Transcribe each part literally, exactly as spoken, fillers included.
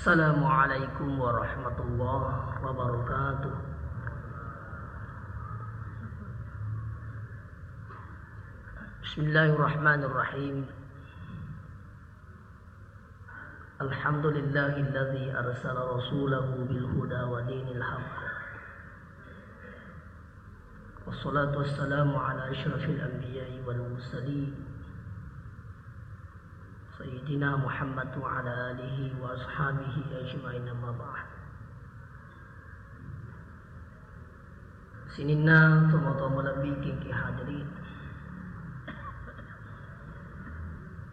Assalamualaikum warahmatullahi wabarakatuh. Bismillahirrahmanirrahim. Alhamdulillahilladzi arsala rasulahu bil huda wa dinil haqq. Wassalatu wassalamu ala asyrafil anbiya'i wal mursalin, Sayyidina Muhammad wa ala alihi wa ashabihi ajma'in, amma ba'd. Sininna tomatoa malebbi engkae hadiri.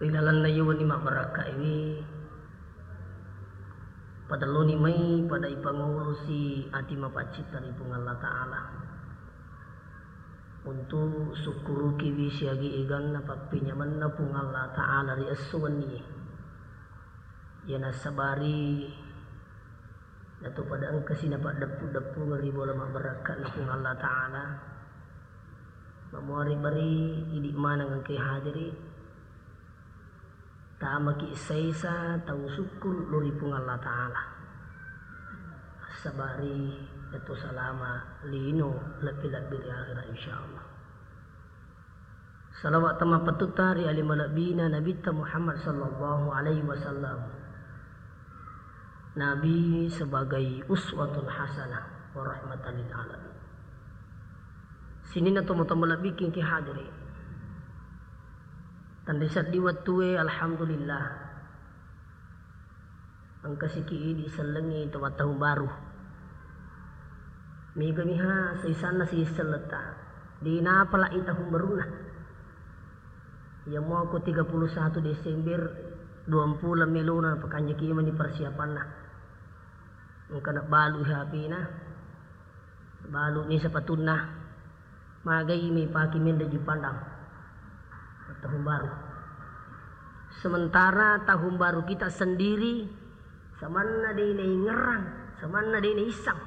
Ri lalenna yewenni mabbarakkaewe, padelloni mai pada ipangolosi ati mapaccitta ri Puang Allah Ta'ala. Untu sukkurukiwi siaga eganna pappenyamenna Puang Allah Ta'ala ri esso wennie. Iya nassabari nato pada engkasi napaddeppu-deppungeng ri bola mabbarakka'na Puang Allah Ta'ala. Mamuari bari idi maneng engkae hadiri. Tamaki saisa tau sukkuru lao ri Puang Allah Ta'ala. Sabari yatu salama lino lebbi-lebbi ri akhirat, insyaallah. Salawat tamappettutta ri ali malebbina Nabitta Muhammad sallallahu alaihi wasallam. Nabi sebagai uswatun hasanah wa rahmatan lil alamin. Sininna tomatoa malebbi engkae hadiri. Tenri seddi wettue, alhamdulillah. Engkasiki idi sellengngi to mattahung baru. Mega miha saisanna siselletta. Dinapalai tahung barunna. Iya muako tiga puluh satu Desember, duampulo melona pakanjaki mani persiapanna. Engka nabalu H P-na. Baluni sepatunna, magai mipake menre Jupandang. Tahun baru. Sementara tahun baru kita sendiri, samanna de' naingerrang, samanna de' naissang.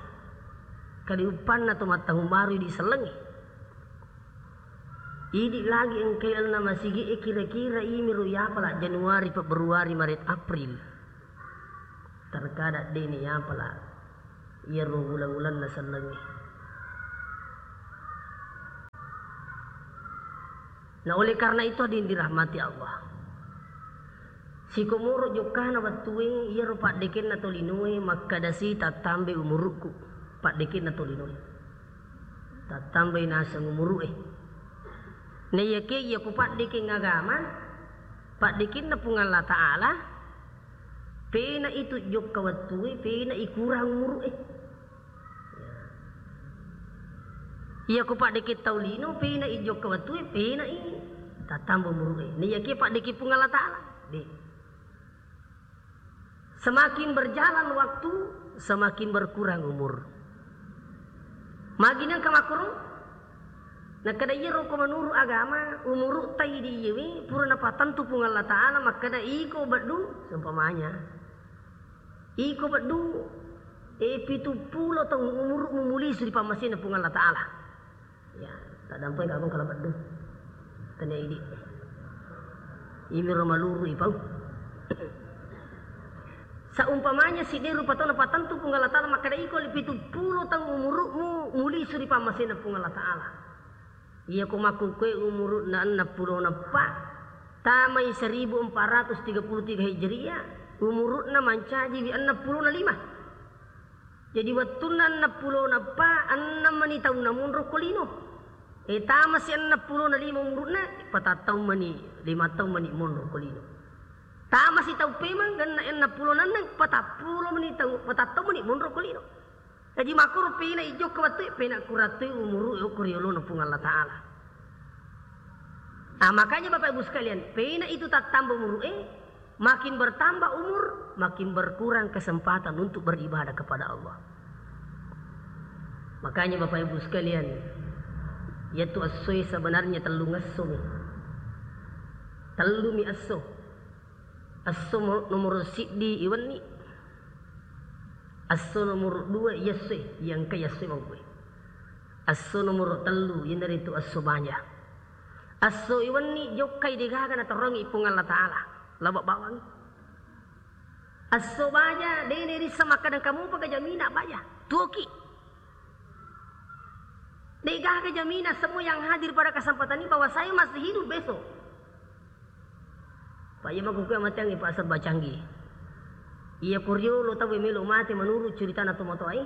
Kadiuppanna to mattahun baru idi sellengnge. Idi lagi engkae lalenna masigi e kira-kira imiro yapala Januari, Februari, Maret, April. Terkadang de' ni yapala iyaro uleng-ulenna sellengnge. Nah, oleh karena itu, hadirin dirahmati Allah, sikomoro jokkana wettue, iyaro paddekenna tolinoe makkadasi tattambai umurukku, paddekenna tolinoe. Tattambai naseng umurue. Naiyakia iya kupaddekeng agama, paddekenna Puang Allah Ta'ala, pena itu jokka wettue, pena ikurang umurue. Iya kupaddekeng tau lino, pena ijokka wettue, pena i tattamba umurue. Naiyakia paddekeng Puang Allah Ta'ala, de'. Semakin berjalan waktu, semakin berkurang umur. Magi nengka makkoro? Nakkeda iyaro ko menurut agama, umurutta idi iyewe pura napatentu Puang Allah Ta'ala, makkeda iko beddu, seumpamanya. Iko beddu, e, pitu pulo taung umurukmu mulisu ri pammasena Puang Allah Ta'ala. Ya, taddampai kakong kala beddu. Tania idi. Imiro maluru ipau. Saumpamanya siddi rupa tau napatentu Puang Allah Ta'ala makkeda iko le pitu pulo taung umurukmu mulisu ri pammasena Puang Allah Ta'ala. Iya ko makkukue umurukna enneng pulo nappa, tamai seribu empat ratus tiga puluh tiga Hijriah, umurukna mancajiwi enneng pulo na lima. Jadi wettunna enneng pulo nappa, enneng mani taunna monro ko lino. E, tamasi enneng pulo na lima umurukna, patattau mani, lima taung mani monro ko lino. Tamasi tau pemeng, genna enneng pulo na enneng, patappulo mani tau, patattau mani monro ko lino. Jadi makkoro pena ijokka wettue, pena kurattui umurue okko ri olona Puang Allah Ta'ala. Nah, makanya Bapak Ibu sekalian, pena itu tattamba umurue, makin bertambah umur, makin berkurang kesempatan untuk beribadah kepada Allah. Makanya Bapak Ibu sekalian, yaitu essoe sebenarnya tellung essomi. Tellumi esso. Esso mo-, nomoro siddi iwenni. Esso nomoro dua iyessoe, iyengka iyessoe mangkue. Esso nomoro tellu iyanaritu esso baja. Esso iwenni jokkai degaga nataroangi Puang Allah Ta'ala. Laba bawangi. Esso baja, de' nerisseng makkeda engka mupa ga jamina baja. Tuoki. De' gaga jamina semua yang hadir pada kesempatan ini bahwa saya masih hidup besok. Pak, iya makkukue mateangngi, Pak, sebba canggih. Iya ko riolo tau melo mate menurut ceritana tomatoae.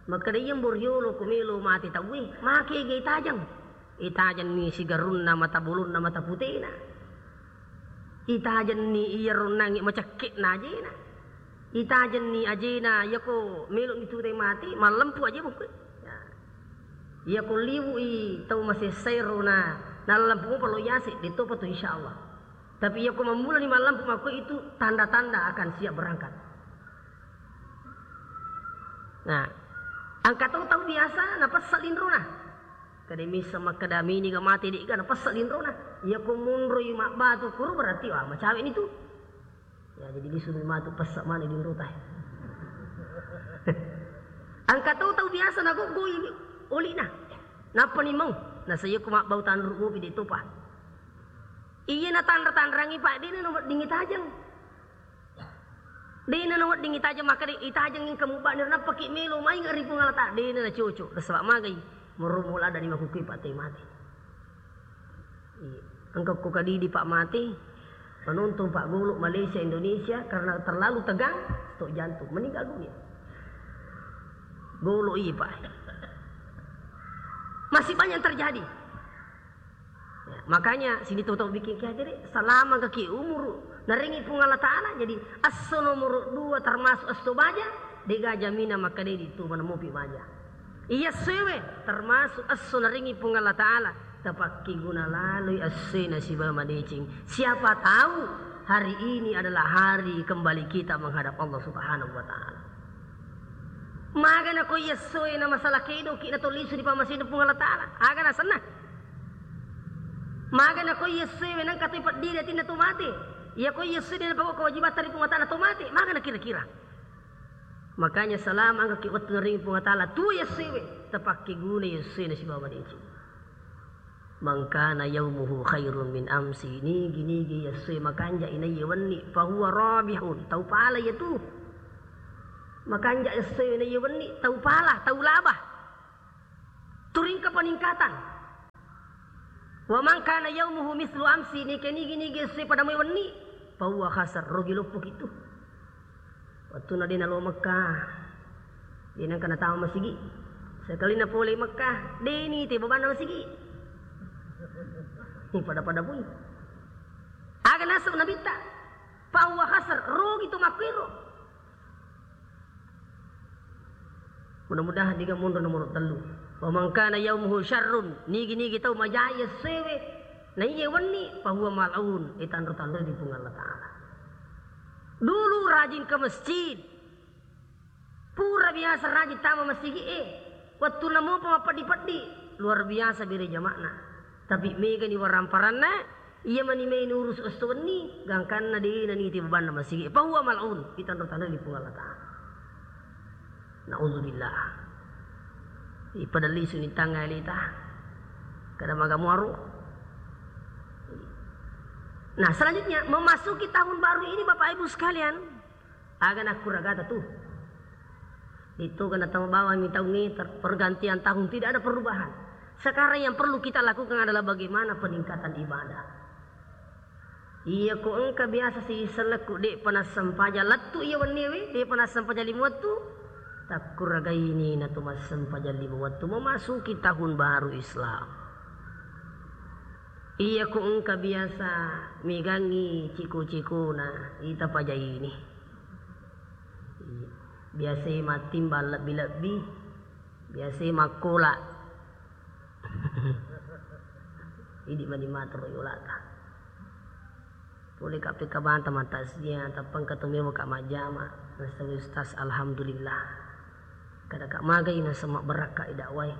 Makkeda iya mbo riolo ko melo mate tauwe, make ga itajeng. Itajenni sigarunna, mata bolonna, mata putena. Itajenni iya ronnangngi macekke'na ajena. Itajenni ajena, iyako melo'ni tutai mate, mallempu aje bukku. Ya. Iyako liwu'i tau masessaero na, nallempu mopa lo yase, de'topa tu insyaallah. Tapi iyako mammulani mallempu makko itu tanda-tanda akan siap berangkat. Nah, engka to tau biasa napessa linrona. Kada misseng makkeda mini ga mate de'ga napessa linrona. Iyako monroi mabbatu koro berarti, wah, macawe'ni tu. Ya, jadi lisu matu pessa mani linrota. Engka to tau biasa nagoggoi oli'na. Nappani mau. Nasa iyako mabbau tanru mopi de'topa. Iya natanra-tanrangi, Pak, de'na nawedding itajeng. De'na nawedding itajeng, makkeda itajeng engka mubba niro nappaki melo mainga ri Puang Allah Ta'ala, de'na nacoco, nasaba magai, moro mola dari makukkui Pak te mate. Iya. Engka ko kadidi Pak mate, penonton Pak golo Malaysia Indonesia karena terlalu tegang, stok jantung, meninggal dunia. Golo iya Pak. Masih banyak yang terjadi. Ya, makanya sini tau-tau bikin ki aja deh, selama kaki umur narengi Puang Allah Ta'ala, jadi esso nomor dua termasuk esso baja, de'ga jamina makkeda di tu mana mopi baja. Iya essoe termasuk esso narengi Puang Allah Ta'ala, tapakki guna laloi essoe nasiba madeceng. Siapa tahu hari ini adalah hari kembali kita menghadap Allah Subhanahu wa Ta'ala. Maga nako iya essoe na masalah kedoki na tolisu di pammasena Puang Allah Ta'ala. Aga nasenna. Maga nako iya essoe wenang katoi peddiri atinna to mate. Iya ko iya essoe de napagau kewajibatta ri Puang Allah Ta'ala to mate. Maga na kira-kira. Makanya selama engka ki wettu narengi Puang Allah Ta'ala, tuo iya essoe we, tapakki guna iya essoe na sibawa madeceng. Man kana yaumuhu khairun min amsi, nigi-nigi iya essoe makanja inaiye wenni, fahuwa rabihun, tau pala iya tu. Makanja essoe inaiye wenni, tau pala, tau laba. Turingka peningkatan. Wa man kana yaumuhu mislu amsi, nigi-nigi essoe pada moi wenni, fahuwa khasir, rugi loppoki tu. Wettunna de nalo Mekah, de nengka natama masigi. Sekali na pole Mekah, de nite bebanna masigi. Ini pada-pada pui. Aga naseng Nabitta, fahuwa khasir, rugi tu makkuiro. Mudah-mudahan diga monro nomor tellu. Wa man kana yaumuhu syarrun, nigi-nigi tau majai essoe we, naiye wenni, fahuwa mal'un, itanro-tanroi di Puang Allah Ta'ala. Dulu rajin ke masjid. Pura biasa rajin tama masigi e. Wettunna mopa mappeddi-peddi, luar biasa bere jama'na. Tapi megani waramparanna, iya mani mai nurusu esso wenni, gangkanna de naniti bebanna masigi. Fahuwa mal'un, itanro-tanroi di Puang Allah Ta'ala. Naudzubillah. Ipadelli suni tangnga alita. Kada maga muaro. Nah, selanjutnya memasuki tahun baru ini Bapak Ibu sekalian, aga nakkuragata tu. Itu kena tama bawang mi taung e ter-, pergantian tahun, tidak ada perubahan. Sekarang yang perlu kita lakukan adalah bagaimana peningkatan ibadah. Iya ko engka biasa si selekku de'pa nassempajang lettu iya wennie we, de'pa nassempajang lima wettu, takkuragaini natu massempajang lima wettu memasuki tahun baru Islam. Iya ko engka biasa megangngi ciko-cikona, ita pajaini. Iya. Biasai mattimbang lebbi-lebbi, biasai makkola. Idi mani matero yolata. Pole ka pekabanta matasjia, tappa engka to mewa ka majjama. Nasawi Ustaz, alhamdulillah. Kada ka magai naseng mabbarakka i dakwai.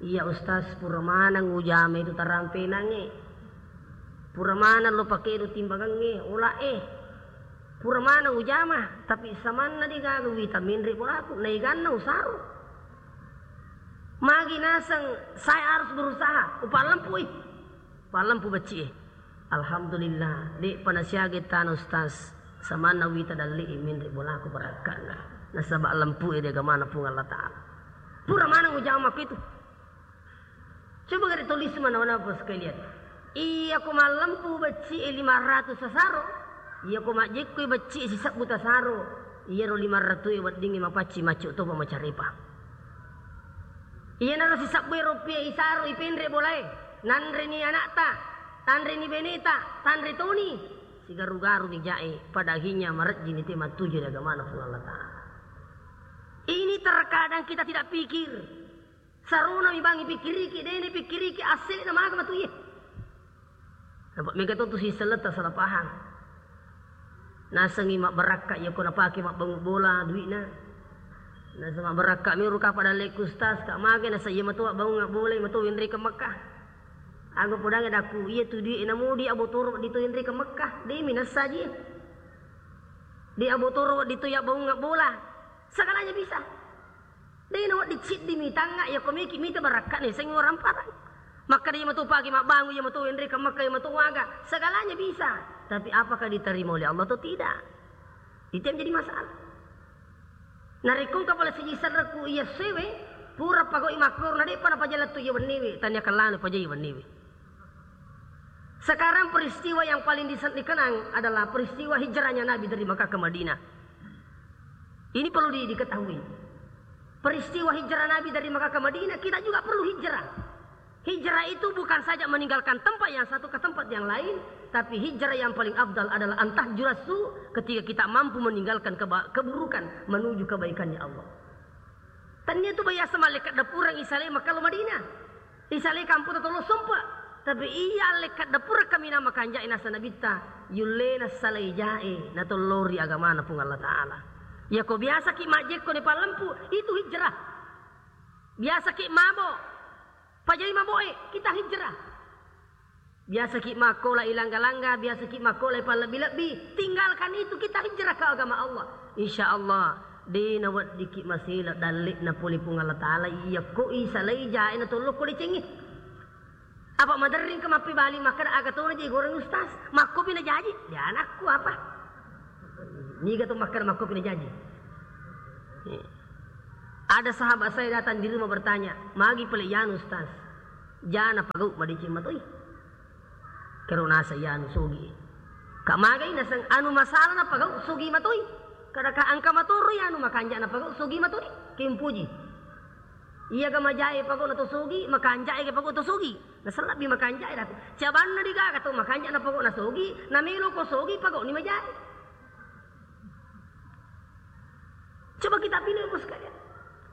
Iya Ustaz, pura maneng ujama itu tarampenangnge. Pura maneng lo pakedo timbangengnge, ola e. Pura maneng ujama, tapi samanna de gaga wita menre bolaku, naiganna usaro. Magi naseng saya harus berusaha, upallempui. Pallempu becci e. Alhamdulillah, de'pa nasiaga tana Ustaz. Samanna wita dalle'i menre' bolaku barakka'na. Nasaba' lempu'e ri agamana Puang Allah Ta'ala. Pura maneng ujama ko itu. Coba gare' tulis mana-mana, Bapak sekalian. Iya ko mallempu becci'e lima ratus tasaro, iya ko majjekkoi becci'e sisebbu tasaro, iyaro lima ratus e weddingngi mapacci maccu topa macarepa. Iyanaro sisebbu e rupiah isaro ipenre' bolae, nanreni ana'ta, tanreni beneta, tanre toni. Sigaru-garu ni ja'e, pada akhirnya marejjini te mattuju ri agamana Puang Allah Ta'ala. Ini terkadang kita tidak pikir. Sarona mi bang ipikkiriki, de' nipikkiriki, assele'na maga matu iye. Nampa mega to tu siselletta salah paham. Nasengngi mabbarakka iya ko napake mabbangung bola dui'na. Naseng mabbarakka miro ka pada lekku ustaz, ka mage nasa iya matu abbangung bola, iya matu wenrekeng Mekkah. Aga podangnge dakku, iya tu dui'e namodi abotoro di to wenrekeng Mekkah, de' mi nassa ji. De' abotoro di to yabbangung bola. Segalanya bisa. De' nawedding ciddi mitangnga, iya ko meki mita barakka'na yasengnge waramparang. Makkeda iya matu pagi mabbangung, iya matu wenrekeng Mekkah, iya matu waga. Segalanya bisa. Tapi apakah diterima oleh Allah atau tidak? Itu yang jadi masalah. Narekko engka pale siji serrekku iya sewe, pura pagau'i makkoro, na de'pa napaja lettu iya wenniwe, tania kellanoi pajai wenniwe. Sekarang peristiwa yang paling disen-, dikenang adalah peristiwa hijrahnya Nabi dari Mekah ke Madinah. Ini perlu di-, diketahui. Peristiwa hijrah Nabi dari Mekah ke Madinah, kita juga perlu hijrah. Hijrah itu bukan saja meninggalkan tempat yang satu ke tempat yang lain, tapi hijrah yang paling afdal adalah antah jurasu ketika kita mampu meninggalkan keba-, keburukan menuju kebaikannya Allah. Tania tu bayasa mallekka dapureng isalai Mekah lo Madinah. Isalai kampung tolo sompa. Tapi iya allekka dapureng kaminang makanja'e nasa nabitta, yullena salai ja'e, natollori agamana Puang Allah Ta'ala. Iya ko biasaki majjekko ni pallempu, itu hijrah. Biasaki mabo, pajai maboe, kita hijrah. Biasaki makkola ilangga-langga, biasaki makkola ipallebbi-lebbi, tinggalkan itu, kita hijrah ke agama Allah. Insya Allah, de' naweddiki masela dalle'na pole Puang Allah Ta'ala, iya ko isalai ja'e natollokko decengnge. Apa maderring ke mappibali makkeda aga tona je goreng ustaz, makkopi najaji, de' anakku apa? Niga to makkeda makkopi najaji. Ada sahabat saya datang di rumah bertanya, magi pale yanu ustaz, jana pagau madeceng matoi. Kero nasa iyanu sogi. Ka magai naseng anu masalah napagau sogi matoi. Kada ka engka matoroi anu makanja napagau sogi matoi. Kimpuji. Iya ga majae pagau na to sogi, makanja ga pagau to sogi. Nasellabbi makanja daku. Cabanna digaga to makanja napagau na sogi, namelo ko sogi pagau ni majae. Coba kita pilih, Ibu sekalian.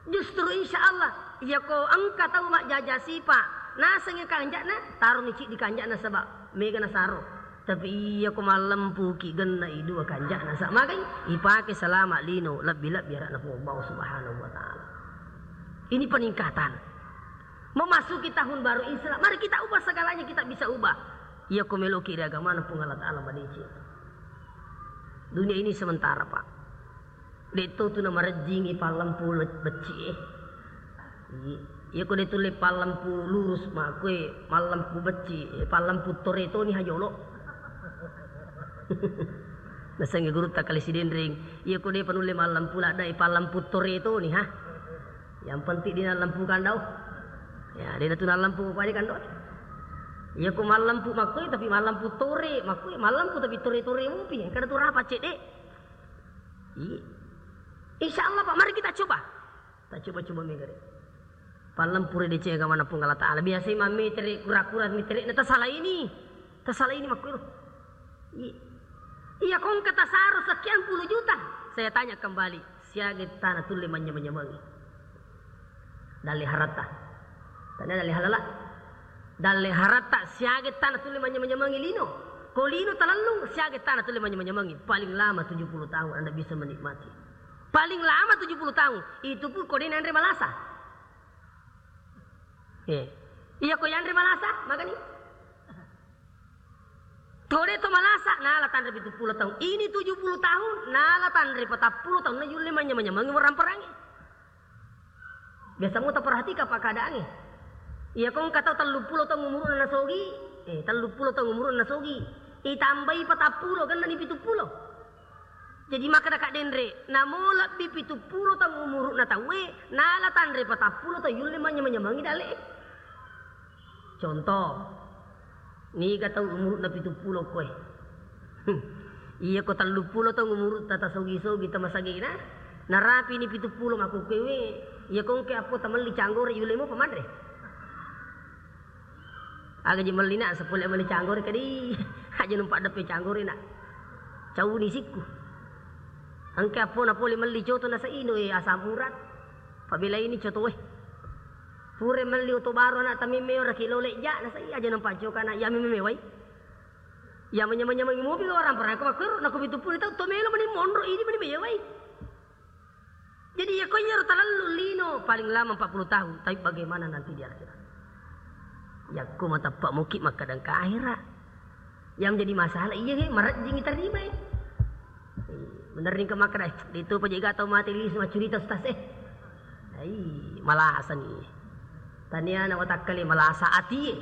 Justru insya Allah, iya ko engka tau majjaja sipa, naseng kanja'na, taroni ciddi kanja'na saba mega nasaro. Tapi iya ko mallempuki genna i dua kanja'na, sa magai ipake selama lino lebbi-lebbi ara'na Puang Allah Subhanahu wa Ta'ala. Ini peningkatan. Memasuki tahun baru Islam, mari kita ubah segalanya, kita bisa ubah. Iya ko meloki ri agamana Puang Allah Ta'ala madeceng. Dunia ini sementara, Pak. De' to tu namarejjingi pallempu le-, becci e. I-, iya ko de' tulle pallempu lurus, makkue mallempu becci, eh, pallempu tore toni ha jolo. Nasengnge gurutta Kali Sidenreng, iya ko de' panulle mallempu ladda, eh, pallempu tore toni ha. Yang penting de' nallempu kandau. Ya, de' natu nallempu ko pade kandau. Iya ko mallempu makkue tapi mallempu tore, makkue mallempu tapi tore-tore mupi, kada tu rapa cedde. Iya. Insya Allah, Pak, mari kita coba. Tak coba-coba megare. Pallempu ri deceng agamana Puang Allah Ta'ala. Biasai mammetere, kura-kura metere, na tasalaini. Tasalaini makkuiro. Iya. Iya, ko engka tasaro sekian puluh juta. Saya tanya kembali, siaga tana tulle manyameng-nyamengi? Dalle haratta. Tania dalle halala. Dalle haratta siaga tana tulle manyameng-nyamengi lino. Ko lino talellung, siaga tana tulle manyameng-nyamengi? Paling lama tujuh puluh tahun Anda bisa menikmati. Paling lama tujuh puluh tahun. Itu pun ko de' nanre malasa. Eh. Iya ko yanre malasa, magani? To de' to malasa, nala tanre pitu puluh tahun. Ini tujuh puluh tahun, nala tanre patappulo tahun, na yulle manyameng-nyamengi waramperangnge. Biasa mu taperhatika, Pak, keadaangnge. Iya ko engka tau telluppulo taung umuru'na nasogi, eh, telluppulo taung umuru'na nasogi. Itambai patappulo, gennani pituppulo. Jadi makkeda Kak Denre, namo lebbi pitu pulo taung umuru'na tauwe, nala tanre patappulo taung yulle manyameng-nyamengi dale'e. Contoh, niga tau umuru'na pitu pulo koe. Iya ko tellu pulo taung umuru'ta tasogi-sogi tamasagena, narapini pitu pulo makkukkuewe, iya ko engka appo tamelli canggore yulle mopa manre. Aga je melli nak, sepole melli canggore kadi. Aja numpak deppe canggore nak. Cauni sikku. Engka appo na pole melli coto nasa ino e asam urat. Pabela ini coto e. Pure melli oto baru anak tamimme ora kilo leja nasa i aja numpak coka nak ya meme wai. Ya menyameng-nyameng mobil orang pernah ko makkero nak pitu pulo tau to melo meni monro ini meni mewai. Jadi, iya ko iyaro talallu lino, paling lama empat puluh tahun, tapi bagaimana nanti di akhirat? Yakko mateppa muki makkeda engka akhirat. Yang menjadi masalah, iya, he, marejjing tarima, eh. Bener nih ke makkeda, eh, itu apa juga tau mati lisu maccurita, Ustaz, eh. Ai, malasani. Tania na watakkale malasa ati, eh.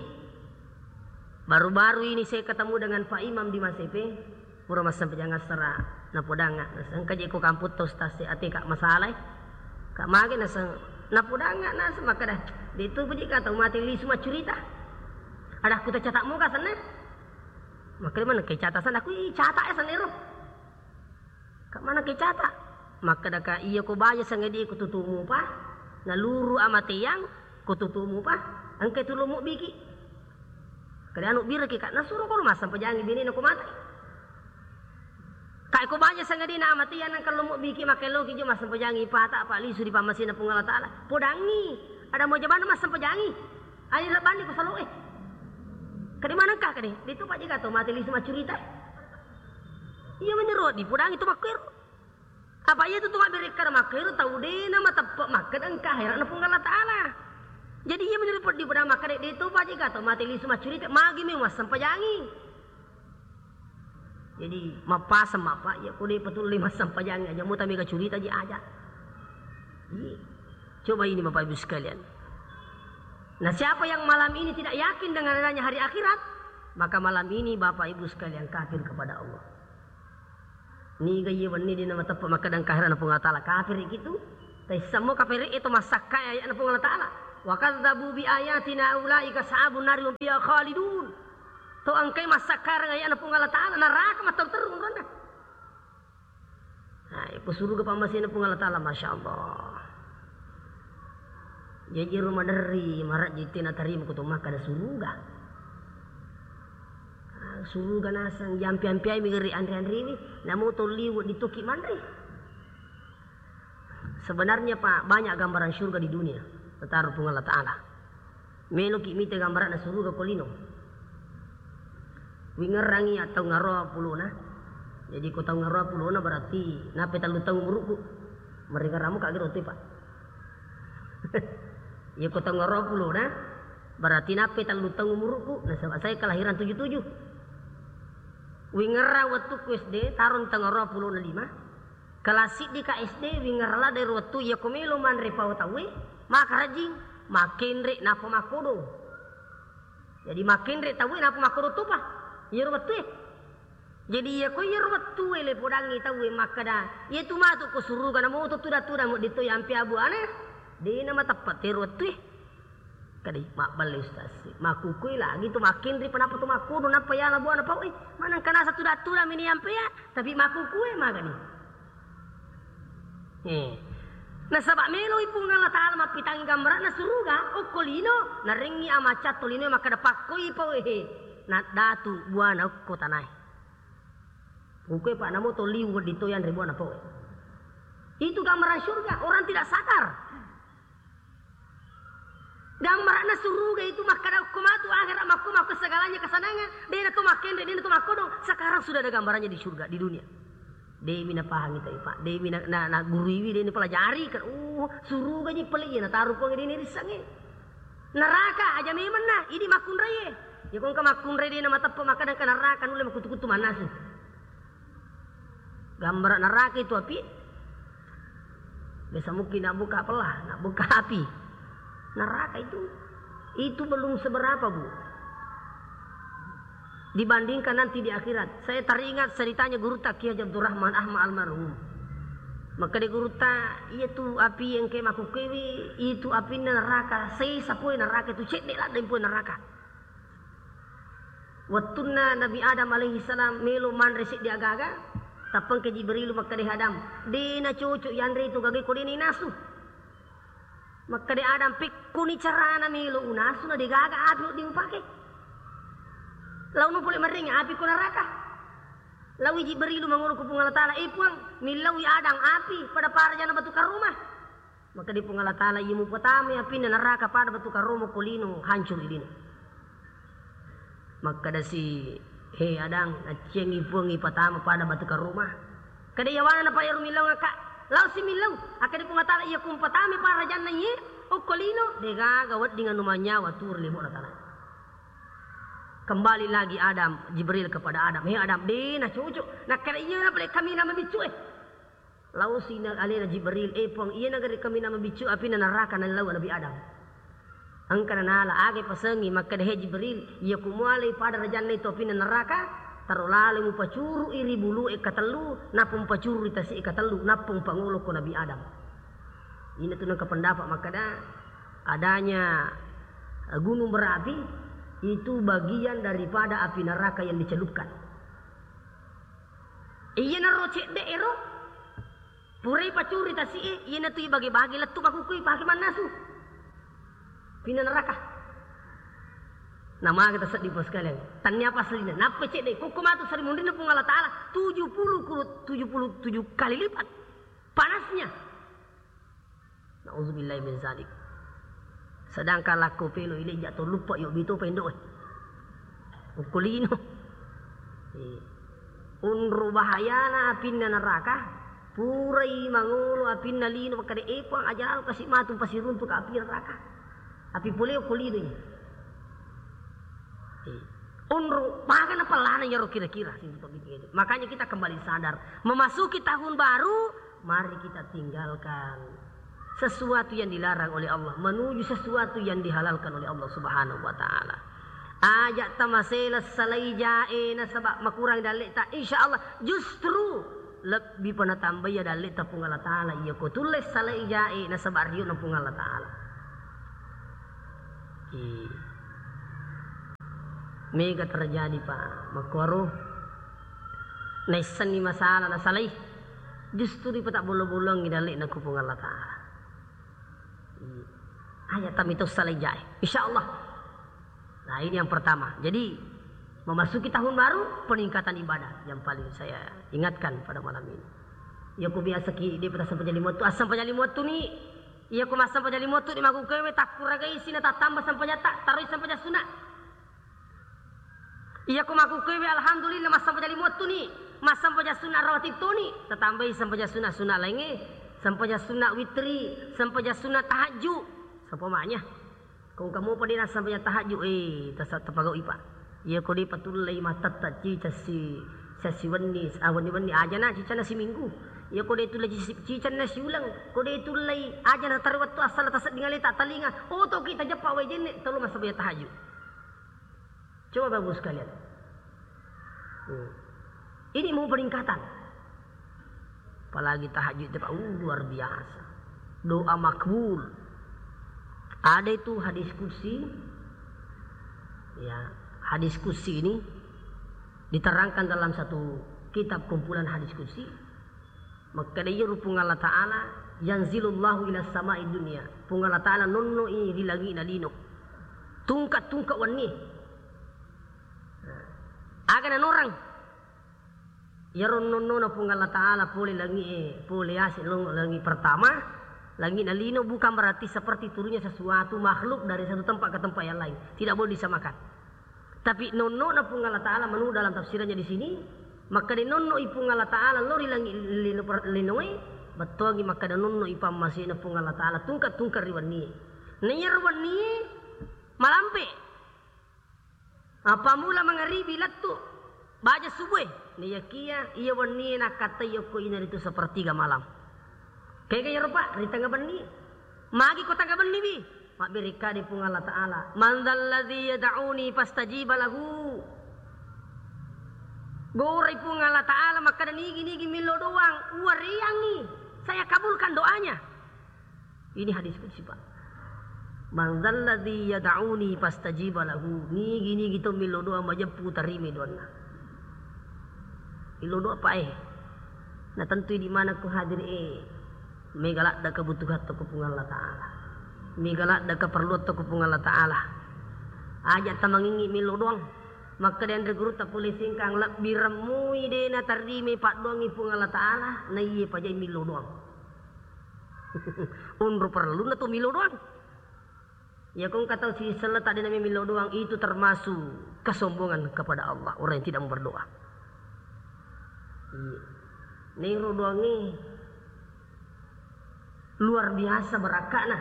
Baru-baru ini saya ketemu dengan Pak Imam di Masepe. Pura massempajang assara, napodangnga. Naseng, "Engka je ko kamputta, Ustaz, se ate ka masalai." Ka mage naseng, napodangnga naseng makkeda, "De tu puji ka tau mate lisu maccurita." Ada ku tacata muka senna. Makkeda mana ke cata sana ku i cata ya senero. Ka mana ke cata? Makkeda ka iya ko baja sangadi ko tutumu pa. Naluru amateang ko tutumu pa. Engka tu lomo biki. Kade anu biraki, Kak, nasuro ko massempajang binena ko mate. Kak, ko baja sangadina amatian nang kellomo biki makkelloki jo massempajang ipata apa lisu di pammasina Puang Allah Taala. Podangi, ada mau jabana massempajangi. Ani lebani ko saloe. Kade maneng ka kade, de tu paje gato mate lisu maccurita. Iya menero di podangi tu makkero. Apa iya tu tu mabberekkada makkero tau de na mateppe makkeda engka akhiratna Puang Allah Taala. Jadi iya menurut peddi pada makkeda de to paje gato mate lisu maccurita magi me massempajangi. Jadi mappaseng mappa iya ko de patulle massempajangi aja muta mega curita ji aja. Iya. Coba ini Bapak Ibu sekalian. Nah, siapa yang malam ini tidak yakin dengan adanya hari akhirat, maka malam ini Bapak Ibu sekalian kafir kepada Allah. Niga iye wenni de na mateppe makkeda engka akhiratna Puang Allah Taala, kafir kitu. Taissammo kafir e to massakkai ayatna Puang Allah Taala. Wa kadzdzabu bi ayatina ulaika ashabun nari hum fiha khalidun. To engkai massakkareng ayatna Puang Allah Taala, neraka matteru-teru onronna. Nah, iko suruga pammasena Puang Allah Taala, Masya Allah. Jaji ro maderri, marajji te natarima ko to makkeda suruga. Ah, suruga naseng, jampi-ampiai mi geri anre-anrewi, namo to liwe' di toki manre. Sebenarnya, Pak, banyak gambaran surga di dunia, nataru Puang Allah Taala. Meloki mita gambaranna suruga ko lino. Wingerrangi ya taung aroa pulona. Jadi ko taung aroa pulona berarti nape tellu taung umuruku. Meringerramu kagero tu, Pak. Iya ko taung aroa pulona berarti nape tellu taung umuruku. Nasaba saya kelahiran tujuh tujuh. Wingerra wettukku S D, tarung taung aroa pulona lima. Kelas siddi ka S D, wingerra ladde ro wettu iya ko melo manre pao tauwe, makarajing, makenre, nappa makkodong. Jadi makenre tauwe, nappa makkodong topa. Iyaro wettue. Jadi iya ko iyaro wettue le podangngi tauwe makkeda, iya tu matu ko suruga namo to tuda-tuda mo ditto yampe abuana, de na mateppe tero wettue. Kadi, mabballe Ustaz. Makkukue lagi tu makkenri, panapa tu makkono, nappa yala buana pau, eh, maneng kana satu datu da mini ampea, tapi makkukue magani. Eh. Nasaba meloi Puang Allah Taala mappitangi gambarana suruga, okko lino, narengngi amacatto lino makkeda pakkoi pau, eh, na datu buana okko tanae. Kukue pa namo to liu wedding to yanre buana pau. Itu gambaran surga, orang tidak sadar. Gambaranna suruga itu makkada okko matu akhirat, makko, makko segalanya kesenangan. Dena to makkenre, dena to makkodong. Sekarang sudah ada gambarannya di surga, di dunia. Dewi na pahangi tadi, Pak. Dewi na, na, na guruiwi, dena pelajari kan. Oh, suruga ji pele iya na taru Puang dena risange. Neraka aja memang nah, ini makkunraie. Ya kong ke makkunrai dena mateppe makkada ke neraka nulle makutu-kutu manasu. Gambar neraka itu api. Biasa mungkin nak buka pelah, nak buka api. Neraka itu, itu belum seberapa, Bu. Dibandingkan nanti di akhirat. Saya teringat ceritanya gurutta Kiai Haji Abdurrahman Ahmad almarhum. Makkeda gurutta, "Iya tu api engke makkukkuewe, itu apinna neraka, sesa poe neraka itu, cedde ladde poe neraka." Wettunna Nabi Adam alaihi salam melo manre seddi aga-aga, tappengke Jibrilu makkeda, "Adam, de nacocok yanre itu gagae ko de nainasu." Makkeda Adam, "Pekkuni carana melo unasu na degaga api wedding upake? Laono pole marengngi api ko neraka." Laoi Jibrilu mangolo ko Puang Allah Taala, "Eh Puang, millaui Adam api pada parajanna batu karoma." Makkeda Puang Allah Taala, "Iya mupatamai apinna neraka pada batu karoma ko lino, hancur i lino." Makkedasi, "He Adam, acciangi Puang ipatama pada batu karoma." Kada yawana napayyaru millau ngakka. Lao si millau. Akkeda Puang Taala, "Iya kumpatamai parajanna iye, okko lino, degaga wedding anu manyawa turu lebo'na tana." Kembali lagi Adam, Jibril kepada Adam, "He Adam, de nacocok." Nakkeda, "Iya napa le kami nama biccu e." Lao si na alena Jibril, "Eh Puang, iya nagare kami nama biccu apinna neraka nallau Nabi Adam." Engka nanala, aga pasengi, makkeda, "He Jibril, iya kumualai pada rajanna itu apinna neraka, taro laleng mupacurui ri bulu e katellu, nappa mupacuru ri tasi e katellu, nappa mupangolo ko Nabi Adam." Ina tu nengka pendapat makkeda, adanya, eh, gunung berapi itu bagian daripada api neraka yang dicelupkan. Iyanaro cedde ero, purai pacuri tasi e, iyanatu ibage-bage lettu makukkui pake mannasu. Pinna neraka. Namaga taseddi, Pak, sekalian. Tannia apa aslina? Nappa cedde, kokko matu sarimunrinna Puang Allah Taala tujuh puluh kulu-, tujuh puluh tujuh kali lipat panasnya. Nauzubillahi min zalik. Sedangkan lakko pelo ile ja to luppa yo bito pendo e. Ukkulino. Eh. Unru bahayana apinna neraka, purai mangolo apinna lino, makkeda, "Eh, Puang, aja lalo kasi matu pasiruntu ka api neraka." Api pole ukkulino ini. Eh. Unru, maga napallana iyaro kira-kira, sing topik itu. Makanya kita kembali sadar, memasuki tahun baru, mari kita tinggalkan sesuatu yang dilarang oleh Allah, menuju sesuatu yang dihalalkan oleh Allah Subhanahu wa Ta'ala. Aja tamasela salai jae nasaba makurang dalleta, insya Allah justru lebbi pa natambai ya dalleta Puang Allah Ta'ala, iya ko tulle salai jae nasaba riona Puang Allah Ta'ala. Iya. Mega terjadi, Pak. Makkuaro naissenni masalah nasalai, justru ripata bollo-bollongi dalle'na ku Puang Allah Ta'ala. Iya. Aja tamito salai jae. Insya Allah. Nah, ini yang pertama. Jadi, memasuki tahun baru, peningkatan ibadah yang paling saya ingatkan pada malam ini. Iya ko biasa ki, de pata sampajang lima wettu, ah, sampajang lima wettu ni. Iya ko massampajang lima wettu ni, makkukkuewe takkuragai sina tattamba sampajatta, taroi sampajang sunna. Iya ko makkukkuewe, alhamdulillah, massampajang lima wettu ni, massampajang sunna rawatib toni, tatambai sampajang sunna, sunna laingnge, sampajang sunna witri, sampajang sunna tahajju. Sampamanya, ko engka mopa de nassampajang tahajju, eh, tasa-, tapagau'i, Pak. Iya ko de patullei mattatta cica si, sasiwenni, ah, wenni-wenni, ajana cicana siminggu. Iya ko de tullei ci-, cicanna siuleng, ko de tullei, ajana taro wettu assala tasedding aleta talinga, otoki tajeppa wae jenne, tolo massampajang tahajju. Coba Bapak Ibu sekalian. Hmm. Ini mau peningkatan. Apalagi tahajud itu, Pak, uh, luar biasa. Doa makbul. Ada itu hadis qudsi. Ya, hadis qudsi ini diterangkan dalam satu kitab kumpulan hadis qudsi. Makkeda iyaro Puang Allah Ta'ala, "Yanzilullahu ila samai dunia." Puang Allah Ta'ala nonnoi ri langi'na lino. Tungka-tungka wenni. Aga nanorang? Iyaro nonnona Puang Allah Ta'ala pole langi'e, pole yase lo langi pertama, langi'na lino bukan berarti seperti turunnya sesuatu makhluk dari satu tempat ke tempat yang lain. Tidak boleh disamakan. Tapi nonno'na Puang Allah Ta'ala menurut dalam tafsirannya di sini, makkeda nonno'i Puang Allah Ta'ala lo ri langi' lino per-, linoe, bettuangi makkeda nonno'i pammasena Puang Allah Ta'ala tungka-tungka ri wennie. Na iyaro wennie malampe. Appamula mangaribi lettu baja subue. Naiyakia iya wennie nakkattai okko inaritu sepertiga malam. Kega iyaro, Pak, ri tengnga benni. Magi ko tengnga benni, wi? Mabberekkani Puang Allah Ta'ala, "Man dzalladzi yad'uni fastajiba lahu." Gorai Puang Allah Ta'ala makkeda, "Nigi-nigi millau doang, uwareangngi, saya kabulkan doanya." Ini hadis qudsi, Pak. "Man dzalladzi yad'uni fastajiba lahu." Nigi-nigi to millau doang, majeppu tarimi doanna. Millau doa, Pak, eh. Na tentu idi maneng ko hadir, eh. Mega ladde kebutuhan to ko Puang Allah Ta'ala. Mega ladde keperluan to ko Puang Allah Ta'ala. Aja tamangingi millau doang. Makkeda anre gurutta pole Singkang, lebbi remmui de natarimi paddoangngi Puang Allah Ta'ala, naiye pajai millau doang. Onro perlunna tu millau doang. Iya ko engka tau sisella tadde nami millau doang, itu termasuk kesombongan kepada Allah, orang yang tidak mau berdoa. Iya. Nero doangnge luar biasa barakka'na.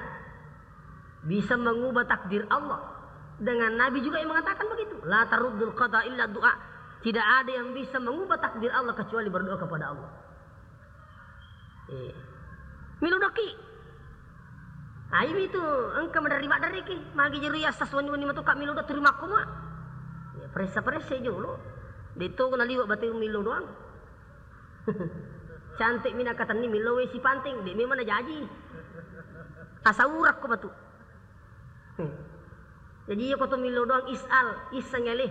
Bisa mengubah takdir Allah. Dengan Nabi juga yang mengatakan begitu. "La taruddul qada illa doa." Tidak ada yang bisa mengubah takdir Allah kecuali berdoa kepada Allah. Eh. Millau doki. Aimi tu engka maderri-maderriki. Magi jeru iya sas wenni-wenni matu ka millau doang turi makko mua. Ya, peressa-peressa jolo. De to na liwa batu millau doang. Cantik mina katenni millau wesi panting, de memang na jaji. Asa urak ko batu. Hmm. Jadi iya ko to millau doang is'al, iseng ele.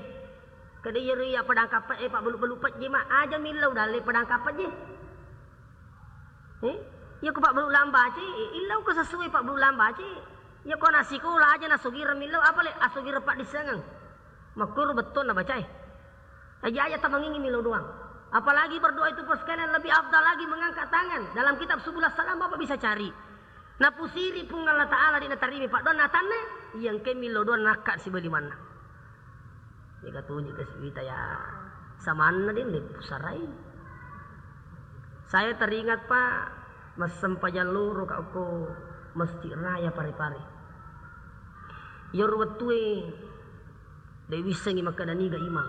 Kada iya ri iya padang kappa e, Pak, belu-belu pejje ma aja millau dalle padang kappa je. Eh? Iya ko Pak, belu lambace, eh, illau ko sesuai Pak, belu lambace. Iya ko na sikola aja na sogireng millau, apa le asogireng Pak disengeng. Makkoro bettonna bacae. Aja-aja tamangingi millau doang. Apalagi berdoa itu, Pak, sekalian lebih afdal lagi mengangkat tangan. Dalam kitab Subul Salam Bapak bisa cari. Napusiri Puang Allah Ta'ala di natarimi paddoanna atanna, iya engke millau doang nakka siba limanna. Mega tuju ke sibita ya. Samanna de le pusarai. Saya teringat, Pak, massempajang loro ka ko Masjid Raya Pare-Pare. Iyaro wettue de wissengi makkeda niga imang.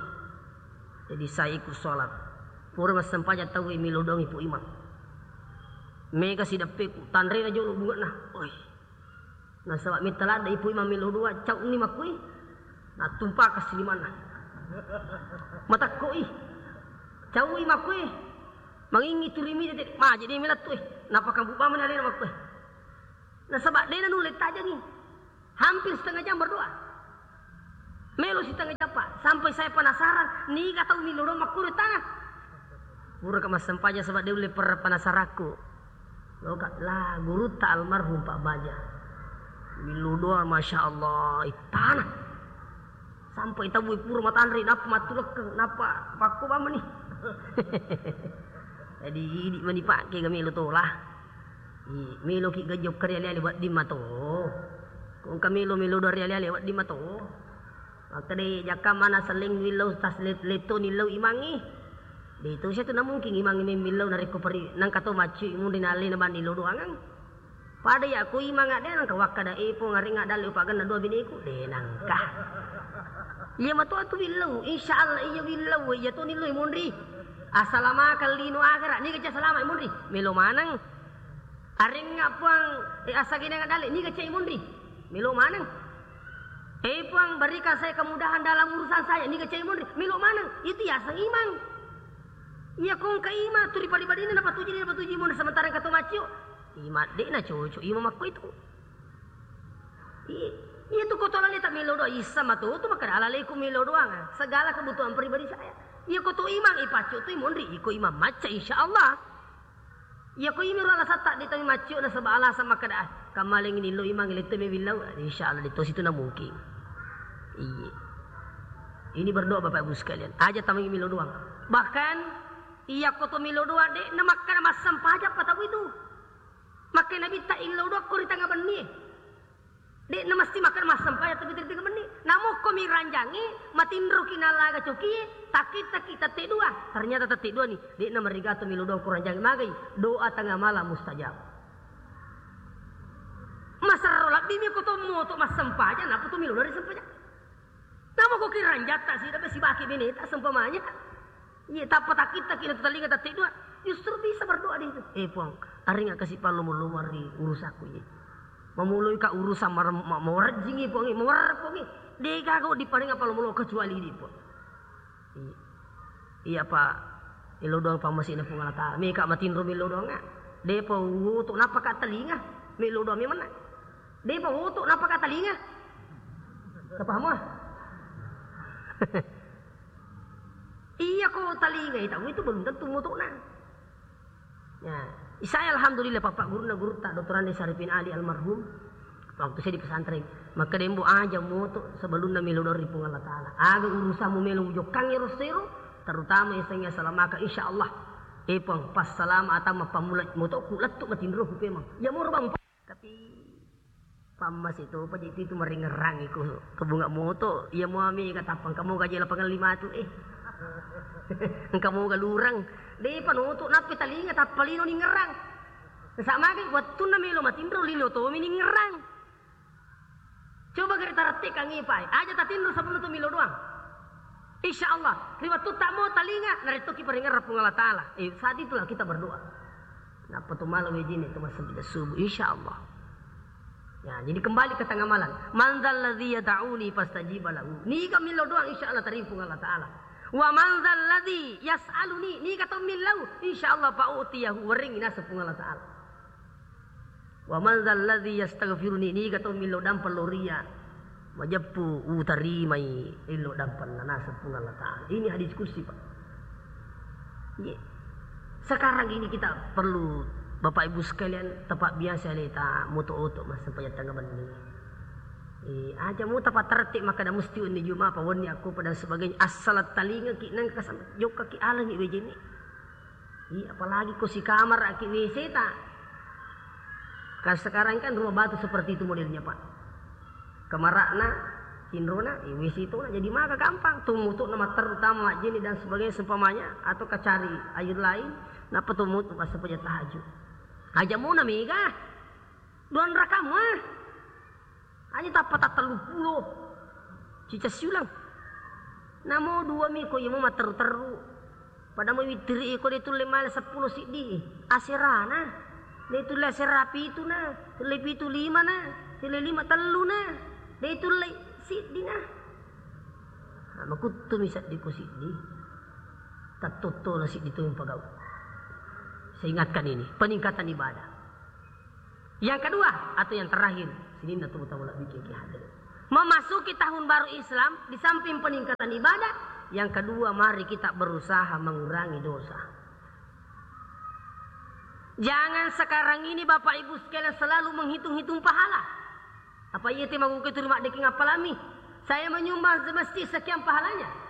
Jadi saya ikut sholat. Pura massempajang tau e millau doang ipu imang. Mega sideppeku, tanrena jolo bunge'na. Oi. Nasaba metta ladde ipu imang millau doang, cau ni makkui. Natumpaka silimanna. Matakko i. Cau i makkui. Mangingi turi mi tete, maje de melettu e. Napakambubamani alena makkui. Nasaba dena nulle tajangi. Hampir setengah jam berdoa. Melo setengah jam, Pak. Sampai saya penasaran, niga tau millau doang makkuro tana. Pura ka massempajang saba de ulle per-, penasarakku. Loka la gurutta almarhum Pak Baja. Millau doang, Masya Allah, ittana. Sampai tau pura matanre, napa mattulekkeng, napa pakko bamani. Jadi idi mani pakke ga melo tola. I, meloki gajokka ri ale-ale wedding mato. Ko engka melo-melo doang ri ale-ale wedding mato. Makkeda jakka mana selling millau tas let-, letto nillau imangngi. De to sia tu namungkin imangngi memmillau narekko peri nangka to maccu munri na allena banni lo doangang. Pada ya ko imang adde nangka wakkada e pong arengnga dalle upaganna dua bineku. De nangka. Iya mato atu willau, insya Allah iya willau, iya to nillau munri. Asalamakang lino akhirat, niga ca salama munri. Melo maneng. Arengnga puang, eh, asagenang dalle, niga cai munri. Melo maneng. Eh, puang, berikan saya kemudahan dalam urusan saya, niga cai munri. Melo maneng. Itu yaseng imang. Iya kongka imang, tu riparibadina napatuji, napatuji munri sementara engka to maccio. Imang de na cocok, imang makko itu. Iya, iya tu koto alaleta melo doang, isa matu tu makkeda alaleku melo doang. Segala kebutuhan pribadi saya. Iya koto imang, ipaccio tu munri, iko imang macca, insya Allah. Iya ko imi ro alasatta de tami maccio nasaba alasan makkeda, ah, kammalengi nillo imang letto me willau, insya Allah de tosi tu na mungkin. Iya. Ini berdoa Bapak Ibu sekalian. Aja tamangi melo doang. Bahkan iya ko to melo doang de na makkeda massempajang pa tau itu. Makkeda Nabitta illau doang ko ri tanga benni. De'na mesti makkeda massempajang tapi tette menni. Namukko mi ranjangi, matinroki nalaga cokie, takkittakki tette dua. Ternyata tette dua ni, de'na marigato melo doang ko ranjangi magai. Doa tengah malam mustajab. Maserro labbi mi ko to moto massempajang, napa to melo doang ri sempajang. Namukko ki ranjatta sida be sibaki beneta seumpamanya. Iya, tappa takkittaki na tu talinga tette dua, justru bisa berdoa di itu. Eh, Puang, aringa kasi pallomo-lomo ri urusakku, iya. Mamuloi ka urusan mar-, ma-, mawarejjingi, Puang, mawarre, Puang. Dega kau diparinga pallomo-lomo kecuali di, Puang. Iya. Iya pa, melo doang pammasi'na Puang Allah Ta'ala. Meka matinro melo doang, ah. Depa woto napaka talinga, melo doang memang, ah. Depa woto napaka talinga. Tapaham, ah? Iya ko talinga itu, itu belum tentu motona. Ya, saya alhamdulillah, Bapak guruna gurutta, Doktor Andi Saripin Ali almarhum, waktu saya di pesantren, maka dembo aja moto sebelumnya melo doang ri Puang Allah Ta'ala. Aga urusanmu melo jokkangi ero sero, terutama yang saya salamaka, insya Allah, eh, Puang, pas salama atau mappamula moto ku lettu matinro ku pemang. Ya, moro bang, tapi Pammase topa je itu maringerrang iko kebunga moto, iya muami katappang kamu gaje lapangan lima tu, eh. Engka moga lurang. Depa noto nappi talinga tappa lino ningerrang. Sa magi wettunna melo matinro lino tomi ningerrang. Coba gare tarattekangngi pai. Aja tatinro sebelum tu melo doang. Insya Allah, ri wettutta mo talinga, narettoki paringerrang Puang Allah Ta'ala. Eh, saat itulah kita berdoa. Nappa tu malam wejine tu massempajang subuh, insya Allah. Ya, jadi kembali ke tengah malam. Man dzalladzi yad'uni fastajiba lahu. Niga millau doang, insya Allah tarima Puang Allah Ta'ala. Wa man dzalladzi yas'aluni, niga to millau, insya Allah fa u'tiyahu, weringi naseng Puang Allah Ta'ala. Wa man dzalladzi yastaghfiruni, niga to millau dampeng lao ria, majeppu utarimai illau dampenna naseng Puang Allah Ta'ala. Ini hadis kursi, Pak. Iya. Sekarang ini kita perlu, Bapak Ibu sekalian, tepat biasa leta moto-oto massempajang tengnga benni. Eh, aja mo tapatterti makkeda musti wenni Juma apa wenni akko dan sebagainya. Asal talingaki nengka sam-, jokkaki alangi wejene. Iya, apalagi ko sikamar aki W C ta. Kan sekarang kan rumah batu seperti itu modelnya, Pak. Kamara'na, tinrona, eh, W C tona, jadi maka gampang. Tumutukna matteru tama majjeni dan sebagainya seumpamanya, atau kacari air lain, nappa tumutuk massempajang tahajud. Aja mona mega. Duang raka mua. Aja tappa tattellu pulo. Cica siulang. Namo dua mi ko iya mo matteru-teru. Pada mo wittiri iko de tulle male seppulo siddi. Aserana. De tulle asera pitu na. Tulle pitu lima na. Tulle lima tellu na. De tulle siddi na. Nah, makuttu mi seddi ko siddi. Tattotto na siddi tu pagau. Saya ingatkan ini, peningkatan ibadah. Yang kedua atau yang terakhir, sininna tu mutawala bikin ki hadir. Memasuki tahun baru Islam, di samping peningkatan ibadah, yang kedua mari kita berusaha mengurangi dosa. Jangan sekarang ini Bapak Ibu sekalian selalu menghitung-hitung pahala. Apa iya te maguke turu maddeking appalami? Saya menyumbang di masjid sekian pahalanya.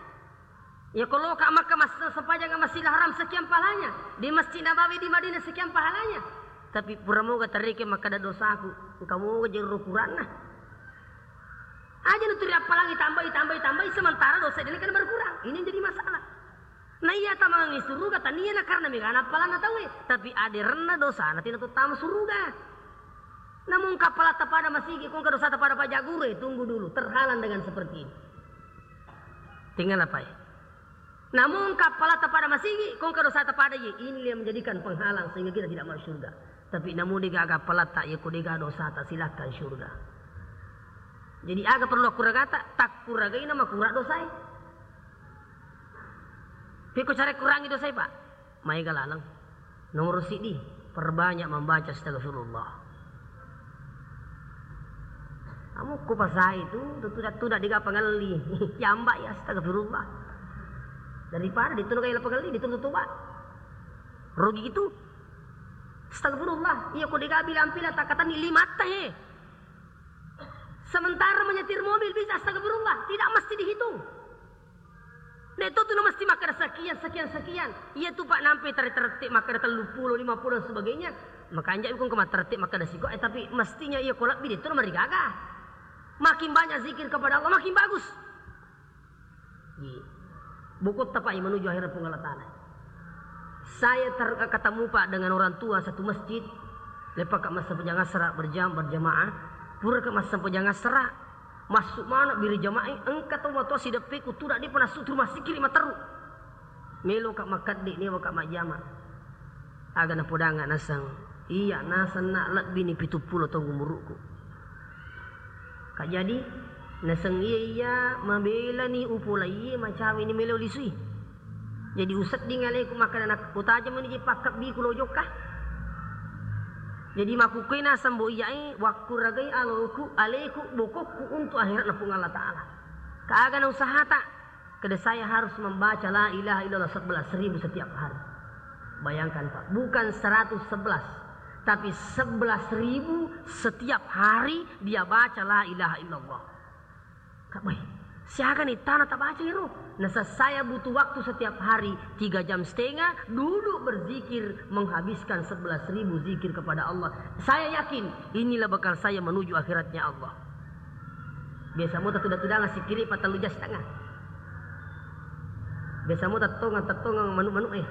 Ya kalau ka Makkah mas sempajang Masjidil Haram sekian pahalanya, di Masjid Nabawi di Madinah sekian pahalanya. Tapi pura moga tareke makkeda dosaku, engka moga jero ukuranna. Aja nuturi appalangi tambai, tambai, tambai, sementara dosa dena kan berkurang. Ini yang jadi masalah. Nah iya tamangi suruga tania na karena megana appalanna tauwe, tapi aderenna dosana tina tu tama suruga. Namun kappalatta pada masigi, kongka dosata pada pajagure, tunggu dulu, terhalang dengan seperti ini. Tinggal apa ya? Namun kappalatta pada masigi, kongka dosata pada ye, inilah yang menjadikan penghalang sehingga kita tidak masuk surga. Tapi namun dega aga palatta, ya ko dega dosata, silakan surga. Jadi aga perlu akkuragata, takkuragaina makura dosai. Piko cara kurangi dosai, Pak? Maega laleng. Nomor siddi, perbanyak membaca astagfirullah. Kamu ku pasai tu, tu tuda-tuda dega pangelli. Yamba ya astagfirullah. Daripada ditu nagai pangelli, ditu tutuba. Rugi itu. Astagfirullah. Iya ko dega bilang pila takatani lima he. Sementara menyetir mobil bisa astagfirullah, tidak mesti dihitung. Dek to tu na mesti makkeda sekian, sekian, sekian. Iya tu Pak nampe tare-, terette makkeda tellu pulo, lima pulo dan sebagainya. Makanja ikung ke terette makkeda siko, eh tapi mestinya iya ko lebbi dek to na marigaga. Makin banyak zikir kepada Allah, makin bagus. Iya. Bokot tapai menuju akhirat Puang Allah Ta'ala. Saya ter-, ketemu Pak dengan orang tua satu masjid. Lepak ka massempajang asra berjam-, berjamaah. Pura ka massempajang asra. Massu maneng biri jama'i, engka to matoa sideppe ku tudang, depa nassu tu rumah sikiri matteru. Meloka makkedde, newaka majjama. Aga napodangnga naseng, iya naseng na lebbini pitu pulo taung umuruku. Ka jadi naseng iya, iya mabelani upolaiye, macawini melo lisui. Jadi usedding aleku makkeda, nak-, utajeng meni je pakkebbiku lo jokka. Jadi makkukkue naseng bo iyae, wakkuragai aloku, aleku, bokokku untuk akhiratna Puang Allah Ta'ala. Kaga na usahata? Kada saya harus membaca la ilaha illallah sebelas ribu setiap hari. Bayangkan, Pak, bukan seratus sebelas, tapi sebelas ribu setiap hari dia baca la ilaha illallah. Kak, weh, siaga nih tanah tak baca iro? Nah, saya butuh waktu setiap hari tiga jam setengah, duduk berzikir, menghabiskan sebelas ribu zikir kepada Allah. Saya yakin inilah bekal saya menuju akhiratnya Allah. Biasa mo tatudang-tudang sikkiri pa tellu jam setengah. Biasa mo tattongang-tattongang manu-manu eh.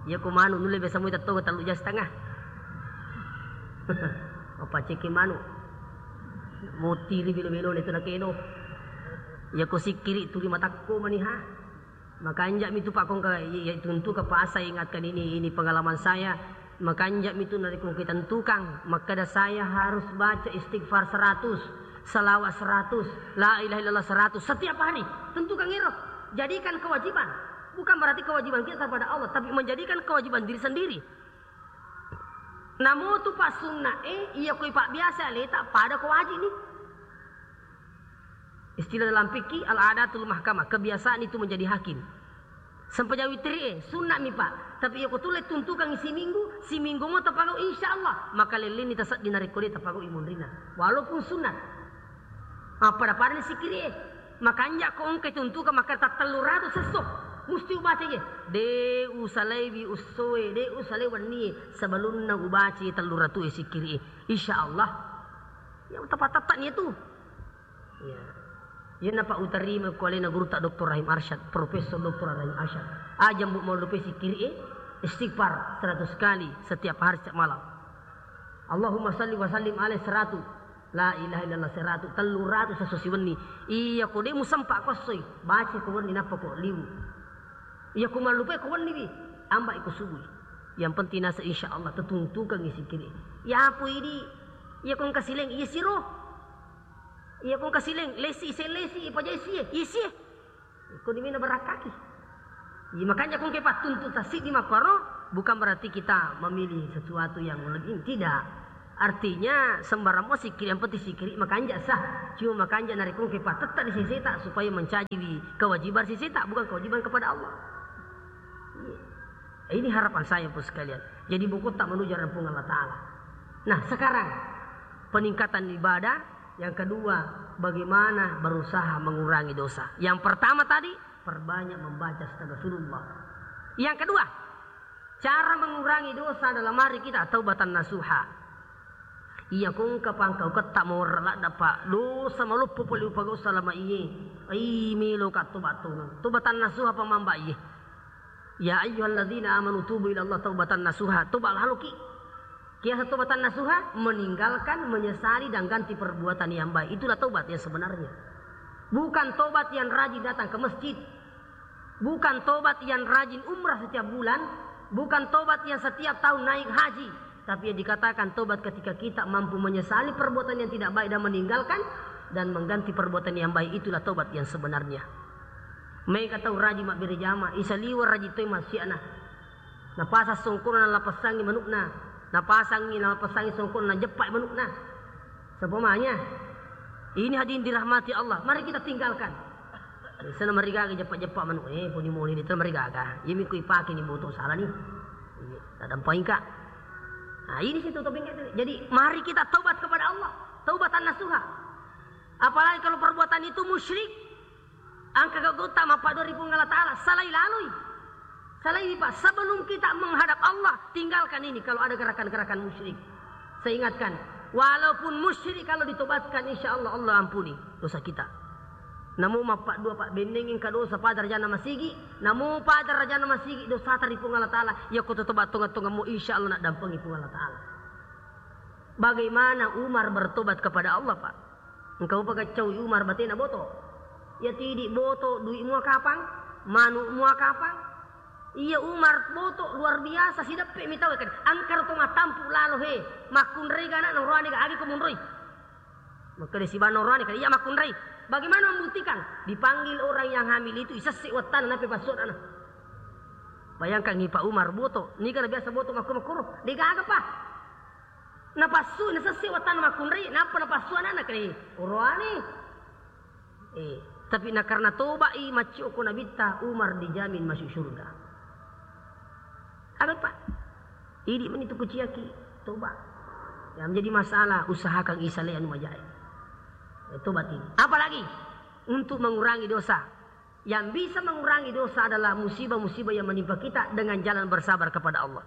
Iya ko manu nulle biasa mo tattongang tellu jam setengah. Apa ceki manu? Mutiri bilo-bilo itu nakedo. Iya ko sikkiri turi matakko maniha. Makanja mi tu Pak kongka, iya, iya, tuntu ke pasai ingatkan ini, ini pengalaman saya. Makanja mi tu narekko engka tentukan, makkeda saya harus baca istighfar seratus, salawat seratus, la ilaha illallah seratus setiap hari. Tentukan iro. Jadikan kewajiban. Bukan berarti kewajiban kita kepada Allah, tapi menjadikan kewajiban diri sendiri. Namo tu Pak sunna eh, iya koi Pak biasa leta pada ko wajib nih. Istilah dalam fikih, al-adatul mahkamah, kebiasaan itu menjadi hakim. Sempajang witri eh, sunna mi Pak. Tapi iya ko tulle tuntukan siminggu, siminggu mo tapagau insya Allah. Maka leleni tasedding narekko de tapagau imunrina. Walaupun sunat. Apa pada ni sikkiri eh. Makanja ko engka tuntukan maka tattellu ratu sesso. Musti ubaca ye. De usalaiwi ussoe, de usalai wennie. Sebelumna ubaca tellu ratu eh sikkiri eh. Insya Allah. Ya, tepat-tepat ni tu. Iya. Iyanapa utarima ko alena gurutta Doktor Rahim Arsyad, Profesor Doktor Rahim Arsyad. Aja mbu mau lupa sikkiri eh, istighfar seratus kali setiap hari setiap malam. Allahumma salli wa sallim alaih seratus. La ilaha illallah seratus. Tellu ratu sesso siwenni. Iya ko de musempa ko essoi, baca ko wenni nappa ko liwu. Iya ko mallupai ko wenni wi, ambai ko subui. Yang penting nasa insya Allah tetuntukan sikkiri. Ya apa ini? Iya ko engka sileng, iya siro. Iya ko engka sileng, lesi, ise lesi, ipajai sie, isi. Ko dimina berakkaki. Iya, makanya ko engka pattuntu tasik di makkoro, bukan berarti kita memilih sesuatu yang lebih, tidak. Artinya sembarang mo sikkiri, yang penting sikkiri makanja sah. Cuma makanja narekko engka patetta di seseta supaya mencaji kewajiban seseta, bukan kewajiban kepada Allah. Iya. Ini harapan saya, Bapak sekalian. Jadi bokkotta menuju hadapan Allah Ta'ala. Nah, sekarang peningkatan ibadah. Yang kedua, bagaimana berusaha mengurangi dosa. Yang pertama tadi, perbanyak membaca astagfirullah. Yang kedua, cara mengurangi dosa dalam hari kita, taubatan nasuha. Iya ko engka pangkauketta mawarra ladda, Pak. Dosa maloppo pole upagau salama iye. Ai, melo ka toba tongeng. Taubatan nasuha pamamba iye. Ya ayyuhalladzina amanu tubu ila Allah taubatan nasuha. Toba laloki. Kiasa taubatan nasuha, meninggalkan, menyesali dan ganti perbuatan yang baik. Itulah taubat yang sebenarnya. Bukan taubat yang rajin datang ke masjid. Bukan tobat yang rajin umrah setiap bulan, bukan tobat yang setiap tahun naik haji, tapi yang dikatakan tobat ketika kita mampu menyesali perbuatan yang tidak baik dan meninggalkan, dan mengganti perbuatan yang baik, itulah tobat yang sebenarnya. Mega tau rajin mabbere jama, isaliwa rajin toi maksiatna. Napasang songkona nalapassangi manukna, napasangi, nalapassangi songkona najeppai manukna. Seumpamanya, ini hadirin dirahmati Allah, mari kita tinggalkan. Sana marigaga jeppa-jeppa manu, eh, poni moni itu marigaga. Iya mi ku ipake ni boto salah ni. Iya, tak dampingka. Nah, ini situ topeng itu. Jadi, mari kita taubat kepada Allah. Taubatan nasuha. Apalagi kalau perbuatan itu musyrik, engka gauta mappadua ri Puang Allah Ta'ala, salai laloi. Salai, Pak, sebelum kita menghadap Allah, tinggalkan ini kalau ada gerakan-gerakan musyrik. Saya ingatkan, walaupun musyrik kalau ditobatkan, insya Allah, Allah ampuni dosa kita. Namo mappaddua, Pak, benneng engka dosa pada rajana masigi, namo pada rajana masigi dosa tari Puang Allah Ta'ala, yakko tobat tonga-tonga mo, insya Allah nak dampengi Puang Allah Ta'ala. Bagaimana Umar bertobat kepada Allah, Pak? Engka upa gaccau Umar batena boto. Iya tidi boto, dui mua kapang, manu mua kapang. Iya Umar boto luar biasa, sideppe mi tau kan. Angkara to matampu lalo he. Makkunrai ga anak noroane ga agi ko munroi. Makkeda siba noroane kan iya makkunrai. Bagaimana membuktikan? Dipanggil orang yang hamil itu, isesse wattana, nappa passu anana. Bayangkan, Pak Umar boto, niga na biasa boto makko-, makkoro, degaga pa. Napassu, nasesse wattana makkunrai, nappa napassu anana, kre. Oroane. Eh, tapi na karena toba'i, maccio ko Nabitta, Umar dijamin masuk surga. Aga, Pak? Idi meni tu kuciaki, toba. Yang menjadi masalah, usahakan isale anu majae. Eh, tobat ini. Apalagi untuk mengurangi dosa. Yang bisa mengurangi dosa adalah musibah-musibah yang menimpa kita dengan jalan bersabar kepada Allah.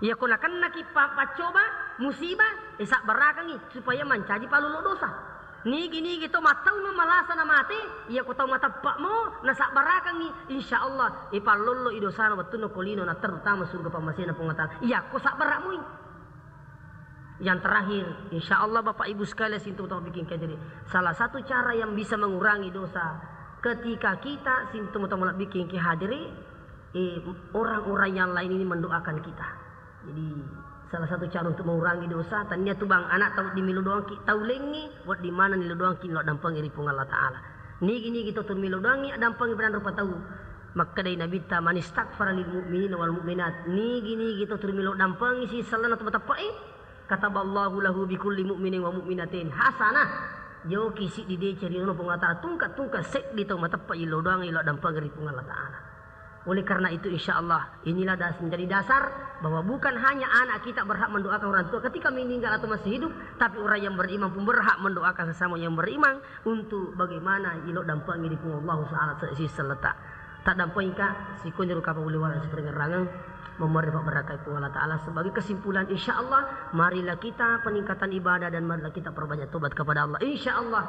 Iya, ko nakennaki pa-, paccoba, musibah, eh, sabbarakangi supaya mancaji pallolo dosa. Nigi-nigi to mattaunna malasa na mate, iya ko tau mateppe'mo nasabbarakangi, insya Allah, eh, pallolo i dosana wettunna ko lino, na terutama surga pammasena Puang Allah Ta'ala. Iya ko sabbara'moi. Yang terakhir, insya Allah Bapak Ibu sekalian, sintu tau bikin kejadian. Salah satu cara yang bisa mengurangi dosa ketika kita sintu tau bikin ke hadiri, eh, orang-orang yang lain ini mendoakan kita. Jadi, salah satu cara untuk mengurangi dosa, tania tu bang, anak tau di milo doangki, tau lengi, buat di mana nilo doangki, lo dampengi ri Puang Allah Ta'ala. Nigi-nigi to tu milo doangi, adampengi pada rupa tau. Makkedai Nabitta, "Man istaghfara lil mu'minina wal mu'minat." Nigi-nigi to tu milo dampengi si sellana tu mateppe'i, kataballahu lahu bi kulli mu'minin wa mu'minatin hasanah. Joki siddi deceng ri Puang Allah Ta'ala, tungka-tungka seddi tau mateppe'i lo doangi, lo dampengi ri Puang Allah Ta'ala. Oleh karena itu, insya Allah, inilah das-, menjadi dasar bahwa bukan hanya anak kita berhak mendoakan orang tua ketika meninggal atau masih hidup, tapi orang yang beriman pun berhak mendoakan sesama yang beriman untuk bagaimana ilo dampengi ri Puang Allah Ta'ala se-, si selleta. Tak dampengi ka, sikonjoro kapang uliwala siperengerangeng, memerri pabarakai Puang Allah Ta'ala. Sebagai kesimpulan, insya Allah, marilah kita peningkatan ibadah dan marilah kita perbanyak tobat kepada Allah. Insya Allah,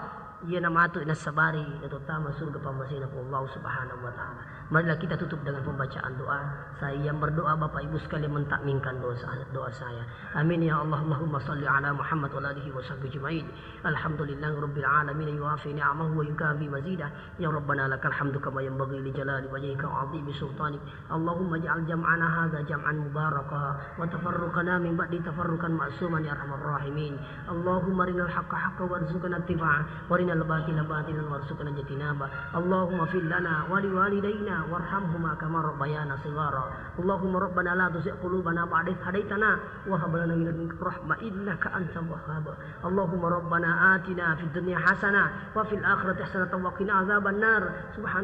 Iyana matu nassabari, natottama surga pammasena Puang Allah Subhanahu wa Ta'ala. Marilah kita tutup dengan pembacaan doa. Saya yang berdoa, Bapak Ibu sekalian mentakminkan dosa, doa saya. Amin ya Allah. Allahumma salli ala Muhammad wa ala alihi wa sahbihi ajma'in. Alhamdulillahi rabbil alamin, yuwafi ni'amahu wa yukafi mazidah. Ya Rabbana, lakal hamdu kama yanbaghi li jalali wajhika wa 'azimi sultanik. Allahumma ij'al jam'ana hadza jam'an mubaraka, wa tafarruqana min ba'di tafarruqan ma'suman ya arhamar rahimin. Allahumma arinal haqqa haqqan warzuqna ittiba'a, wa arinal batila batilan warzuqna ijtinaba. Allahumma fir lana wa liwalidaina warhamhuma kama rabbayana shighara. Allahumma rabbana la tuzigh qulubana ba'da idh hadaitana wa hab lana min ladunka rahmah innaka antal wahhab. Allahumma rabbana atina fid dunya hasanah wa fil akhirati hasanatan wa qina adzabannar. Subhan